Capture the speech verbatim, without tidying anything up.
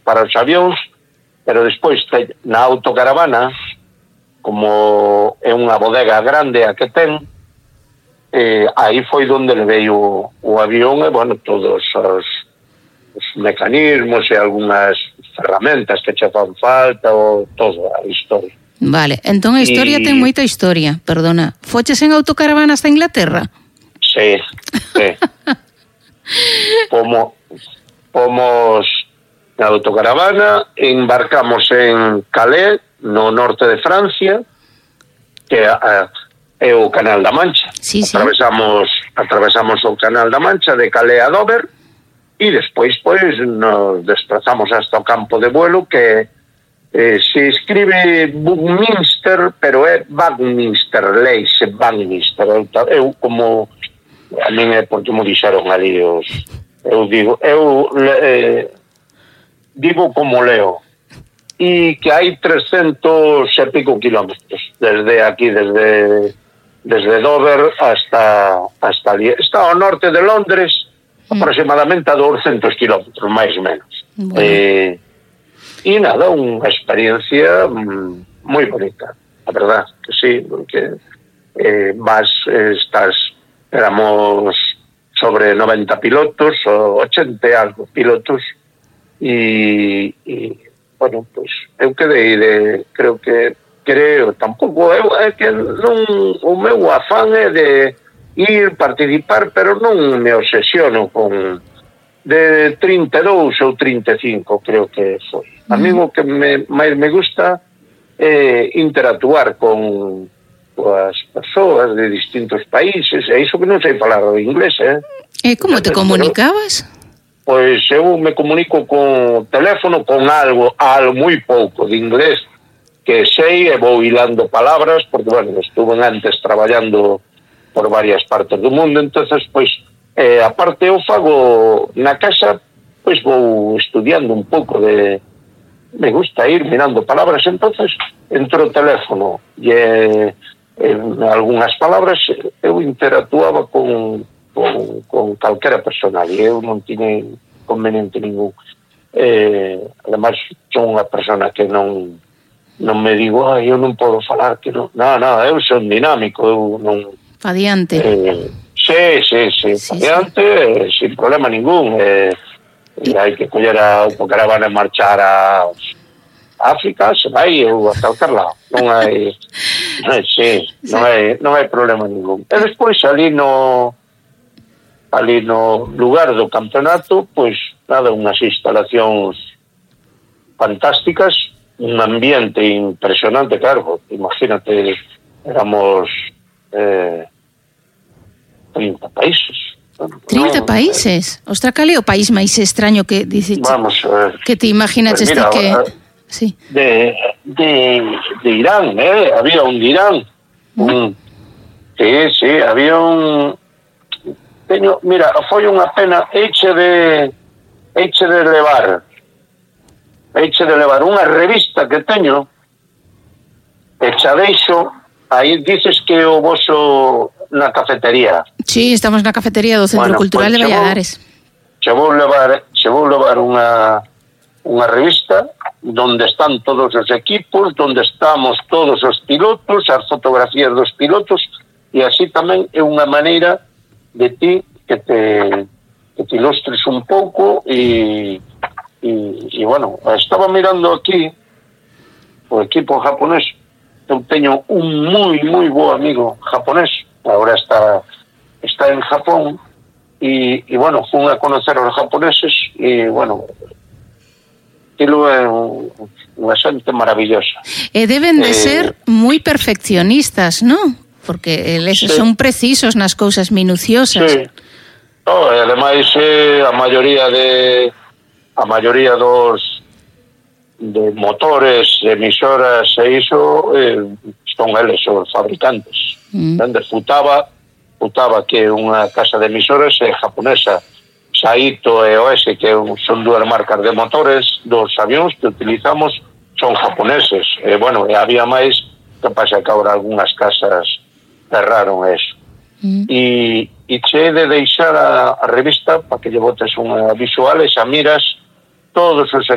para os avións, pero despois na autocaravana, como é unha bodega grande a que ten, eh, aí foi onde levei o, o avión e, bueno, todos os, os mecanismos e algunhas ferramentas que che fan falta, o todo a historia. Vale, entón a historia y... ten moita historia, perdona. Foches en autocaravana hasta Inglaterra? Sí, sí. Como, pomos na autocaravana, embarcamos en Calais, no norte de Francia, que é o Canal da Mancha. Sí, sí. Atravesamos, atravesamos o Canal da Mancha de Calais a Dover e despois pois nos desplazamos hasta o campo de vuelo que eh, se escribe Buckminster, pero é Buckminster, leise Buckminster. Eu, eu como a min é porque me dixeron ali os, eu digo, eu eh, digo como leo. E que hai trescentos e pico kilómetros desde aquí, desde desde Dover hasta hasta ali. Está ao norte de Londres, mm. aproximadamente a douscentos kilómetros, máis ou menos. Bueno. Eh, e nada, unha experiencia mm, moi bonita, a verdad, que sí, porque eh, vas, estás, éramos sobre noventa pilotos, ou ochenta e algo pilotos, e... e bueno, pois, eu quedei de, creo que, creo, tampouco, eu, é que non, o meu afán é de ir, participar, pero non me obsesiono con de trinta e dous ou trinta e cinco, creo que foi. A mí o que me, máis me gusta é interactuar con as persoas de distintos países, e iso que non sei falar o inglés, eh? E como te comunicabas? Pois eu me comunico con teléfono, con algo, algo moi pouco de inglés, que sei e vou hilando palabras, porque, bueno, estuve antes traballando por varias partes do mundo, entonces, pois, eh, aparte eu fago na casa, pois vou estudiando un pouco de... Me gusta ir mirando palabras, entonces, entro o teléfono e eh, en algunhas palabras eu interactuaba con... Con, con calquera persona e eu non tiña conveniente ningún. Eh, además, son unha persona que non non me digo, ai, eu non podo falar, que non, non, non, eu son dinámico, eu non... Fadiante. Eh, sí, sí, sí, sí, fadiante, sí. Eh, sin problema ningún. Eh, e hai que coller a autocaravana e marchar a África, se vai, eu a calcar lado. Non hai... Non hai, sí, sí. Non hai, non hai problema ningún. E despois ali no... ali no lugar do campeonato, pois nada, unhas instalacións fantásticas, un ambiente impresionante, claro, imagínate, éramos eh, trinta países. trinta no, países? Eh, Ostra, cal é o país máis extraño que dices? Vamos, eh, que te imaginas pues mira, que... Eh, sí. de, de, de Irán, eh, había un de Irán, mm. un, sí, sí, había un... Teño, mira, foi unha pena eiche de eiche de levar eiche de levar unha revista que teño e xa deixo aí, dices que o voso na cafetería. Sí, estamos na cafetería do Centro bueno, Cultural pues, de Valladares. Che vou levar, che vou levar unha unha revista donde están todos os equipos, donde estamos todos os pilotos, as fotografías dos pilotos, e así tamén é unha maneira de ti que te, que te ilustres un pouco e, e, e bueno, estaba mirando aquí o equipo japonés. Eu teño un moi, moi bo amigo japonés, agora está está en Japón e, e bueno, fun a conocer aos japoneses e bueno, aquilo é unha xente maravillosa. E deben de eh, ser moi perfeccionistas, non? Porque eles sí. son precisos nas cousas minuciosas. Sí. No, e ademais eh, a maioría de a maioría dos de motores, emisoras e iso eh, son eles os fabricantes. Mm. Onde Futaba, Futaba que é unha casa de emisoras é japonesa. Saito e O S, que son dúas marcas de motores dos avións que utilizamos, son japoneses. E bueno, e había máis, que pasa que agora algunhas casas cerraron eso. Mm. E, e che de deixar a, a revista para que lle botes unha visual e xa miras todos os